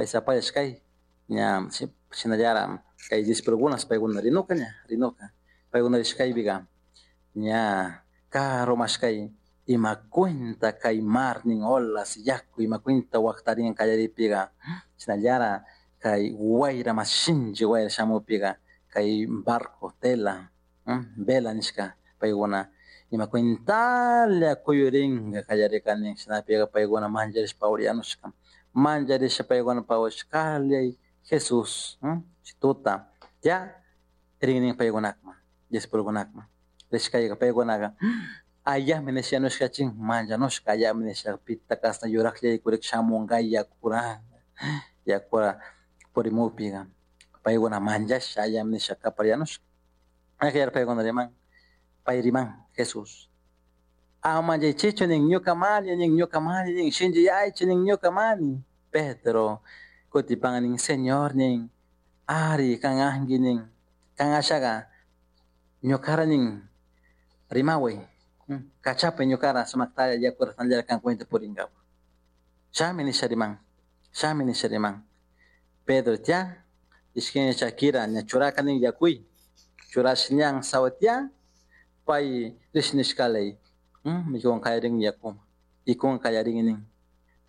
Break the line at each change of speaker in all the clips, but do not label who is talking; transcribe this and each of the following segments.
Sapayashkay ña shinallara kay discipulokuna paykuna rinuka ña rinuka paykuna rishkaypica ña karumashkay ima cuenta kay mar nin olas yaku ima cuenta waktarin kallaripika shinallara kay wayra mas shinchi wayra shamupika kay barco tela vela nishka paykuna ima cuentalla kuyurinka kallarikani shinapika paykuna mancharishpa pawriyanushka mancharisha paykuna pawashkallay Jesús tuta ya rinnin paykunakman discipulukunakman rishkayka paykunaka ayami nishanushka chin manchanushka ayami nisha pita kasna yuraklla kurik shamunka yakura yakura purimupika paykuna manchasha ayami nisha kapariyanushka akayar paykuna riman pay riman Jesús ama manchaychichu nin ñuka mani nin ñuka mani nin shinchiyaychi nin ñuka mani. Pedro kutipan nin Señor nin ari kan anki nin kan ashaga ñukara nin rimaway kachapay ñukara sumaktalla yakura tanllara kan cuenta purinkapak shami nisha riman shami nisha riman. Pedro tya ishkin chakira ña churaka nin yakuy churash ñan sawa tya pay rish nishkalay mikun kallarin yakuma ikun kallarin nin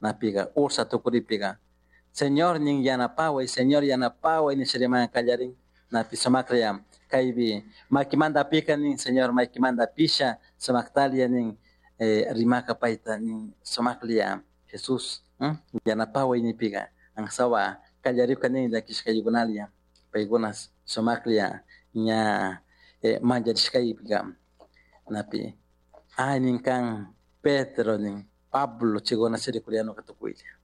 napika ursa tukuripika Señor nin yanapaway Señor yanapaway nisha riman kallarin napi sumaklla kaypi makimanta apika nin Señor makimanta apisha sumaktalla nin rimaka payta nin sumaklla Jesús yanapaway nipika ansawa kallarika nin llakishkaykunalla paykuna sumaklla ña mancharishkaypika napi ay nin kan Pedro nin Pablo chaykuna chirikuriyanuka tukuylla.